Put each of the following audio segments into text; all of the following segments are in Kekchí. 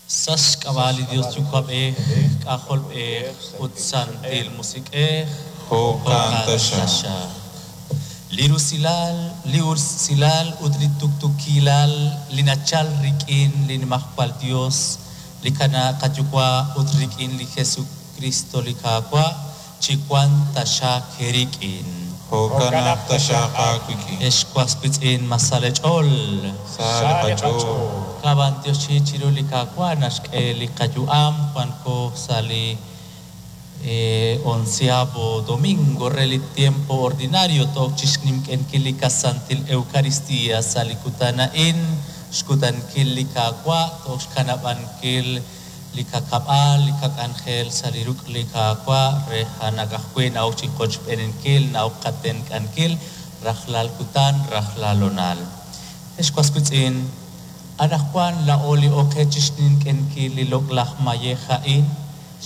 Sa' xk'ab'a' li Dios Yuwa'b'ej, K'ajolb'ej ut Santil Musiq'ej. Jo'kan taxaq. Li rusilal, li usilal ut li tuktukilal li nachal rik'in li Nimajwal Dios, li kana Qayuwa' ut rik'in li Jesucristo li Qaawa', chiwanq taxaq eerik'in. Jo'kanaq taxaq aawik'in. Ex was wiitz'in ma sa leech'ool. Sa li qach'ool. Qab'antioxi chiru li Qaawa' naxk'e li qayu'am wanko sa' li onceavo domingo re li tiempo ordinario took chixnimk'enkil li qasantil Eucaristía sa' li kutan a'in xkutankil li Qaawa' took xkanab'ankil li kakab'al li kak'anjel sa' li ruk' li Qaawa' re janaq ajwi' na'ok chi qochb'eeninkil na'ok qatenq'ankil rajlal kutan rajlal honal. Ex was wiitz'in, anaqwan laa'o li oqe chixnink'enkil li loq'laj mayej a'in,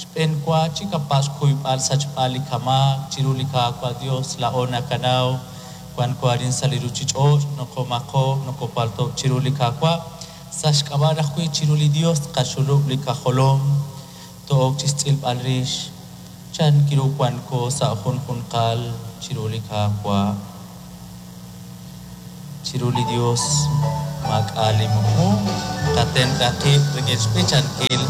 xb'eenwa chikapa' xkuyb'al sachb'al li kamaak chiru li Qaawa' Dios laa'o nakanaw wanko arin sa' li ruchich'och' nokomaqo' nokopalto' chiru li Qaawa' sa' xk'ab'a' ajwi' chiru li Dios tqaxulub' li qajolom to'ok chixtz'ilb'al rix chan kiru wanko sa' junjunqal chiru li Qaawa'. Chiru li Dios maak'a' li muqmu qatenq'a qib' rik'in xb'ichankil.